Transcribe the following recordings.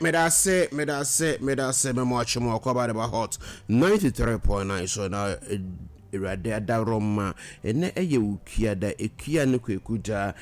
Medase, medase, medase, memo akye mo akɔ aba de ba Hot 93.9 so na Awurade adaworoma. Ɛnɛ ɛyɛ Wukuada, Akua ne Kwaku da.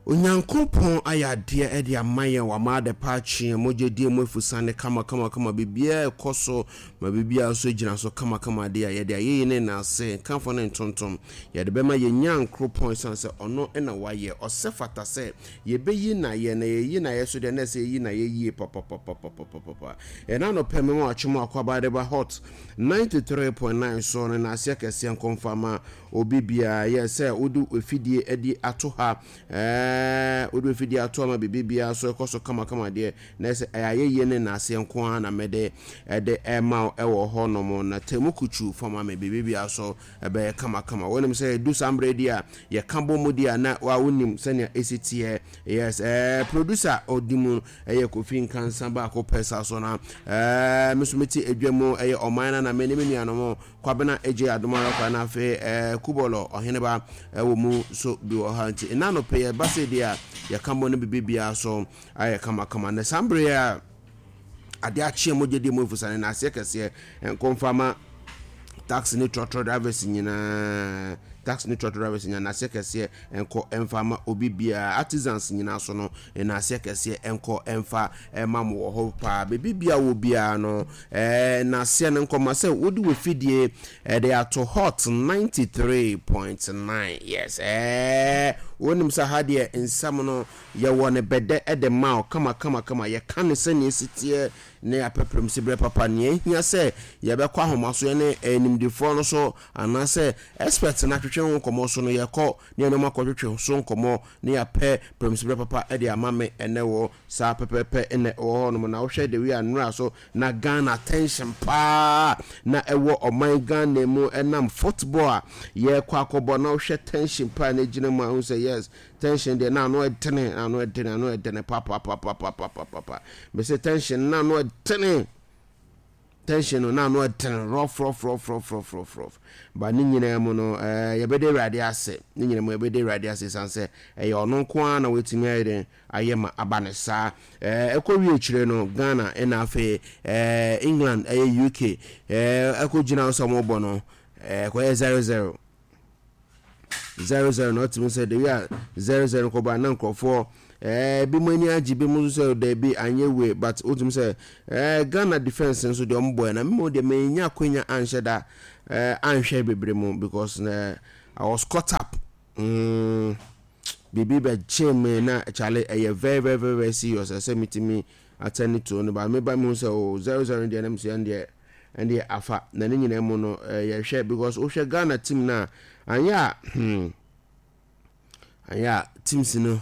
Onyankopɔn ayɛ adeɛ de ama yɛn, wama ade pa akye yɛn, mogya die mu afusane kama kama kama, biribiara ɛkɔ so ma biribiara nso gyina so kama kama adeɛ a yɛde ayɛyi ne nnaase, nkamfo ne ntontom yɛde bɛma yɛn Nyankoropɔn ɛsiane sɛ ɔno na wayɛ, ɔsɛ fata sɛ yɛbɛyi no ayɛ, na yɛyi no ayɛ so deɛ na ɛsɛ yɛyi no ayɛ yie papapapapapapa. Ɛna anɔpɛ mema wakye mu akwaaba de ba Hot 93.9 so no naaseɛ kɛseɛ nkɔmfa ma Obi biara yɛ sɛ wode w'afidie adi ato ha, ɛɛ, wode w'afidie ato ama biribi biara so ɛkɔ so kamakama deɛ, na ɛsɛ ɛyɛ ayɛyie ne nnaseɛ nko ara na mede ɛde ɛma wo ɛwɔ hɔ nom, na tɛmu kutu fa ma me, biribi biara so ɛbɛyɛ kamakama. Wonim sɛ ɛdu saa mmerɛ di a, yɛka bɔ mu di a, na wa wonim sɛnea ɛsi teɛ. Yes, ɛɛ, producer ɔdi mu ɛyɛ Kofi Nkansa baako pɛ saa so na, ɛɛ, me nso mete adwa mu ɛyɛ ɔman na na me ne me nuanom Kwabena Adjei Adomah Arokwa na afei eh, Kubɔlɔ Ɔheneba wɔ mu nso bi wɔ ha nti nna anɔpɛ yɛ ba sɛ deɛ a yɛka bɔ no biribi biara so ayɛ kamakama na saa mmerɛ a adeɛ akyeɛ mogya di mu afusane na aseɛ kɛseɛ nkɔmfa ma taxi ne trɔtrɔ drivers nyinaa taxi ne trɔtrɔ drivers nyinaa n'aseɛ kɛseɛ nkɔ mfa ma obi biara artisans nyinaa so no n'aseɛ kɛseɛ nkɔ mfa ma mo wɔ hɔ paa baabi biara wɔ biara no ɛɛ n'aseɛ no nkɔma sɛ wode wɔ fidie ɛde ato Hot 93.9. Yes, ɛɛ wonim sɛ ha deɛ nsɛm no yɛwɔ ne bɛdɛ ɛde ma wo kama kama kama, yɛka ne sɛnea ɛsi teɛ ne apɛprɛm si berɛ papa. Nea ɛhia sɛ yɛbɛkɔ ahoma so yɛne animdefoɔ no so anaasɛ expert no atwetwe ho nkɔmmɔ so no, yɛkɔ ne yɛne wɔn akɔtwetwe so nkɔmmɔ ne yɛapɛ prɛmsiberɛ papa de ama me ɛnɛ wɔ saa pɛpɛpɛ ɛnɛ wɔ hɔ nom. Na wohwɛ the way a nnora so na Ghana tension paa na ɛwɔ ɔman Ghana mu ɛnam football a yɛkɔ akɔbɔ, na wohwɛ tension paa na ɛgyina mu a, wohu sɛ yes, tension deɛ na ano ɛdene, na ano ɛdene, ano ɛdene papapapapapapa. Mese tension na ano ɛdene, tension no na ano ɛdene rough rough rough rough rough rough rough. Ba ne nyinaa mu no, ɛɛ yɛbɛda Awurade ase. Ne nyinaa mu yɛbɛda Awurade ase san sɛ ɛyɛ ɔno nko ara na watumi ayɛ den ayɛ ma aba ne saa. Ɛɛ ɛkɔ wie akyire no, Ghana ɛna afei ɛɛ England ɛyɛ UK ɛɛ ɛkɔ gyina sɛ wɔn bɔ no ɛɛ ɛkɔyɛ 0-0. 0-0 na ɔtumi sɛ de wi a 0-0 kɔba na nkurɔfoɔ ɛɛ bi mu ani agye, bi mu nso sɛ daabi anyɛ wei, but wotumi sɛ ɛɛ Ghana defence nso deɛ ɔmo bɔɛ na mímu deɛ menya akonya anhyɛ da ɛɛ anhwɛ bebree mu because ɛɛ I was caught up biribi bɛkye me na kyale ɛyɛ very very very very serious ɛsɛ metumi attend to no, but meba mu sɛ o 0-0 deɛ na mesɛ ɛn deɛ ɛndeɛ afa na ne nyinaa mu no yɛhwɛ because wohwɛ Ghana team no a anyɛ a anyɛ a teams no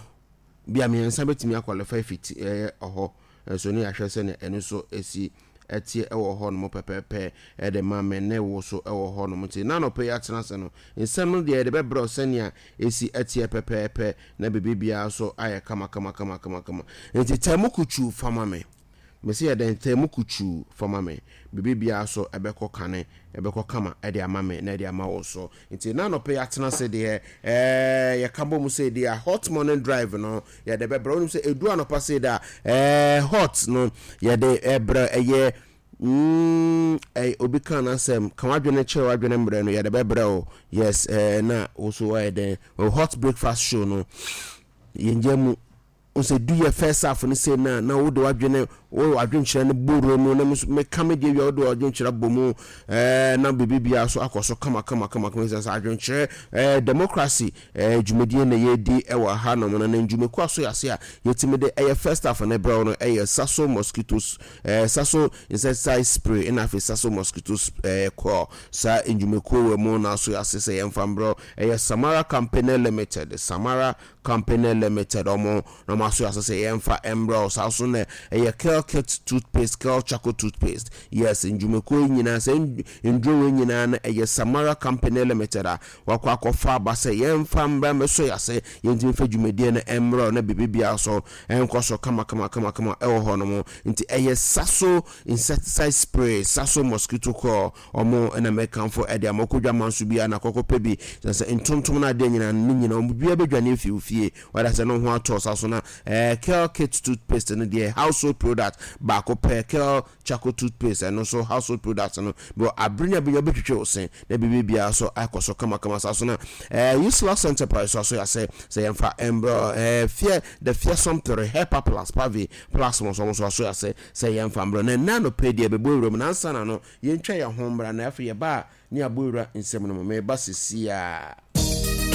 bi a mmiɛnsa bɛtumi aqualify fiti ɛyɛ ɔhɔ nso ne yɛahwɛ sɛnea ɛno nso ɛsi ɛteɛ ɛwɔ hɔ nom pɛpɛɛpɛ ɛde ma me ne wo so ɛwɔ hɔ nom. Nti na anɔpɛ yi atena ase no nsɛm no deɛ yɛde bɛbrɛ sɛnea ɛsi ɛteɛ pɛpɛɛpɛ na biribi biara so ayɛ kama kama kama kama kama. Nti tɛmu kutu fama me. Mese yɛ dɛn taa mu kutuu fa ma me. Biribi biara so ɛbɛkɔ kane, ɛbɛkɔ kama de ama me na ɛde ama wo nso. Nti na anɔpa yi atena ase deɛ, ɛɛ yɛka bɔ mu sei deɛ a, hot morning drive no yɛde bɛbrɛ. Wonim sɛ ɛdu anɔpa sei deɛ a, ɛɛ hot no yɛde ɛbrɛ ɛyɛ mm, ɛy, obi ka n'asɛm, ka w'adwene kyerɛ w'adwene mmerɛ no yɛde bɛbrɛ o. Yes, ɛɛ na wo so wayɛ dɛn? Hot breakfast show no yɛngya mu. Wohu sɛ du yɛ first half no sei no a, na wode w'adwene, wo adwenkyerɛ no bɔ wura mu, na me nso meka me deɛ wie a, wode w'adwenkyerɛ abɔ mu, ɛɛ na biribi biara so akɔ so kama kama kama kama. Sɛ adwenkyerɛ, ɛɛ democracy, ɛɛ dwumadie na yɛredi ɛwɔ ha nom no, na ndwumakuo aso yɛ ase a yɛtumi de ɛyɛ first half no brɛ wo no ɛyɛ Saso mosquitoes, ɛɛ Saso insecticide spray, ɛna afei Saso mosquitoes ɛɛ coil. Saa ndwumakuo wɔ mu na aso yɛ ase sɛ yɛmfa mbrɛ wo. Ɛyɛ Samara Company Limited, Samara Company Limited ɔmo na ɔmo aso ase sɛ yɛnfa mbrɛ wo. Saa nso na ɛyɛ Kelkit toothpaste, Kel charcoal toothpaste. Yes, ndwumakuo yi nyinaa, saa nduro wei nyinaa no ɛyɛ Samara Company Limited a wakɔ akɔfa aba sɛ yɛnfa mbrɛ mmɛsɔ yɛn ase, yɛntumi mfa dwumadie no mbrɛ wo na biribi biara nso nkɔ so kama kama kama kama ɛwɔ hɔ nom. Nti ɛyɛ Saso insecticide spray, Saso mosquito coil. Ɔmo na mɛkamfo de ama. Wokɔ dwaman so biara na kɔkɔ pɛ bi. Sɛ sɛ ntontom no adeɛ nyinaa no ne nyinaa ɔmo biara bɛdwane afi wo fie. Wada sɛ ne ho atɔ sa so na. Ɛɛ Kel Kit toothpaste no deɛ household product baako pɛ Kel charcoal toothpaste ɛno nso household product no bɛ abere ne abere wobɛtwitwi wo se na biribi biara nso akɔ so kamakama saa so na ɛɛ Useless Enterprise so aso yɛasɛ sɛ yɛmfa mbrɛ ɛɛ fear the fearsome theory Hepa plus Pavi plus mo nso nso aso yɛasɛ sɛ yɛmfa mbrɛ na ɛnna anɔpɛ deɛ bɛbɔ awura mu na ansa na no yɛntwa yɛn ho mmra na afei yɛba a ne abɔ awura nsɛm no mu meba sisi a.